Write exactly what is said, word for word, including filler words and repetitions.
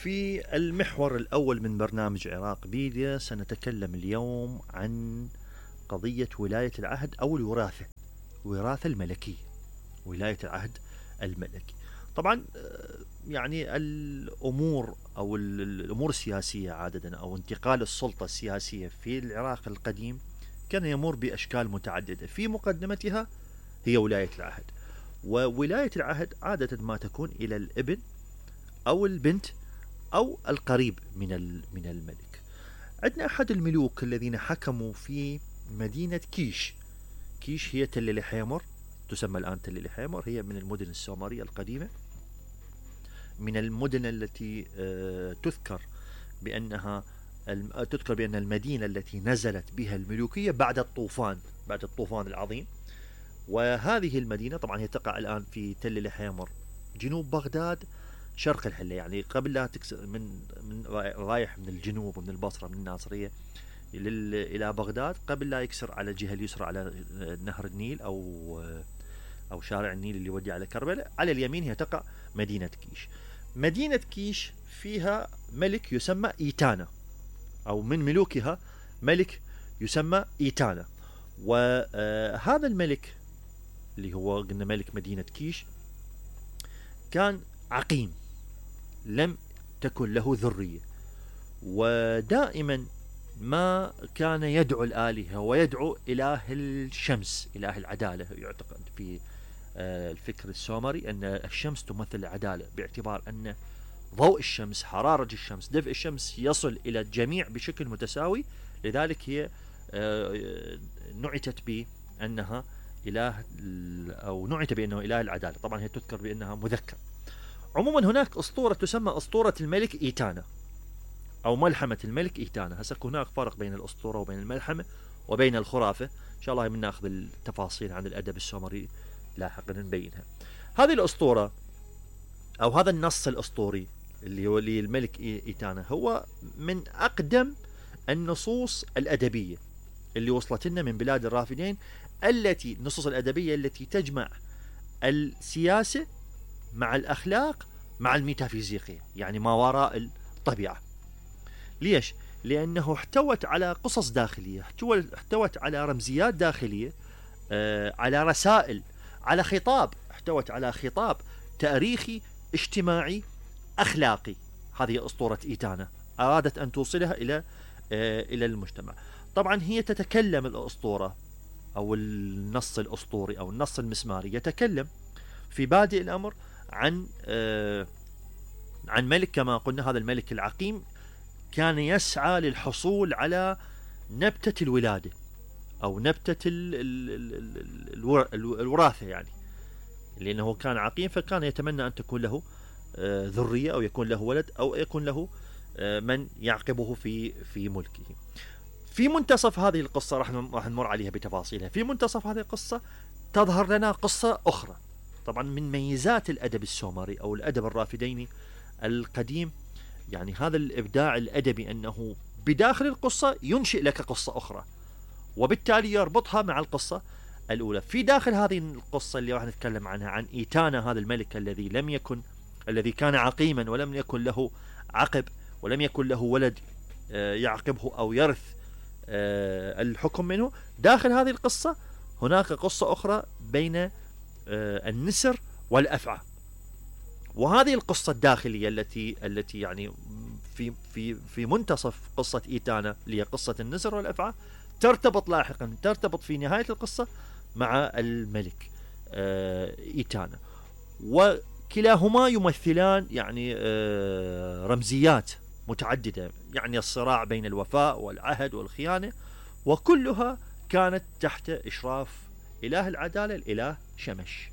في المحور الأول من برنامج عراق بيديا سنتكلم اليوم عن قضية ولاية العهد أو الوراثة، وراثة الملكية، ولاية العهد الملكي. طبعا يعني الأمور أو الأمور السياسية عادة أو انتقال السلطة السياسية في العراق القديم كان يمر بأشكال متعددة، في مقدمتها هي ولاية العهد. وولاية العهد عادة ما تكون إلى الابن أو البنت أو القريب من من الملك. عندنا أحد الملوك الذين حكموا في مدينة كيش. كيش هي تل الحيمر، تسمى الآن تل الحيمر، هي من المدن السومرية القديمة، من المدن التي تذكر بأنها تذكر بأن المدينة التي نزلت بها الملوكية بعد الطوفان، بعد الطوفان العظيم. وهذه المدينة طبعا هي تقع الآن في تل الحيمر جنوب بغداد شرق الحلة، يعني قبل لا تكسر من من رايح من الجنوب ومن البصرة من الناصرية إلى بغداد، قبل لا يكسر على الجهة اليسرى على نهر النيل أو أو شارع النيل اللي يودي على كربلاء، على اليمين هي تقع مدينة كيش. مدينة كيش فيها ملك يسمى إيتانا، أو من ملوكها ملك يسمى إيتانا. وهذا الملك اللي هو قلنا ملك مدينة كيش كان عقيم، لم تكن له ذرية، ودائما ما كان يدعو الآلهة ويدعو إله الشمس، إله العدالة. يعتقد في الفكر السومري أن الشمس تمثل العدالة، باعتبار أن ضوء الشمس، حرارة الشمس، دفء الشمس يصل إلى الجميع بشكل متساوي، لذلك هي نعتت بأنها إله، أو نعت بأنه إله العدالة. طبعا هي تذكر بأنها مذكر. عموما هناك أسطورة تسمى أسطورة الملك إيتانا أو ملحمة الملك إيتانا. هسه هناك فرق بين الأسطورة وبين الملحمة وبين الخرافة، إن شاء الله بناخذ التفاصيل عن الأدب السومري لاحقا نبينها. هذه الأسطورة أو هذا النص الأسطوري اللي هو للملك إيتانا هو من أقدم النصوص الأدبية اللي وصلت لنا من بلاد الرافدين، التي النصوص الأدبية التي تجمع السياسة مع الأخلاق مع الميتافيزيقية، يعني ما وراء الطبيعة. ليش؟ لأنه احتوت على قصص داخلية، احتوت على رمزيات داخلية، آه على رسائل، على خطاب، احتوت على خطاب تاريخي اجتماعي أخلاقي. هذه أسطورة إيتانا أرادت أن توصلها إلى آه إلى المجتمع. طبعا هي تتكلم الأسطورة أو النص الأسطوري أو النص المسماري يتكلم في بادئ الأمر عن آه عن ملك، كما قلنا هذا الملك العقيم كان يسعى للحصول على نبتة الولادة أو نبتة ال ال ال الوراثة، يعني لأنه كان عقيم فكان يتمنى أن تكون له آه ذرية أو يكون له ولد أو يكون له آه من يعقبه في في ملكه. في منتصف هذه القصة راح راح نمر عليها بتفاصيلها. في منتصف هذه القصة تظهر لنا قصة أخرى. طبعا من ميزات الأدب السومري أو الأدب الرافديني القديم يعني هذا الإبداع الأدبي، أنه بداخل القصة ينشئ لك قصة أخرى وبالتالي يربطها مع القصة الأولى. في داخل هذه القصة اللي راح نتكلم عنها عن إيتانا، هذا الملك الذي لم يكن الذي كان عقيما ولم يكن له عقب ولم يكن له ولد يعقبه أو يرث الحكم منه. داخل هذه القصة هناك قصة أخرى بين النسر والأفعى، وهذه القصة الداخلية التي التي يعني في في في منتصف قصة إيتانا اللي هي قصة النسر والأفعى ترتبط لاحقا ترتبط في نهاية القصة مع الملك إيتانا، وكلاهما يمثلان يعني رمزيات متعددة، يعني الصراع بين الوفاء والعهد والخيانة، وكلها كانت تحت إشراف إله العدالة الإله شمش.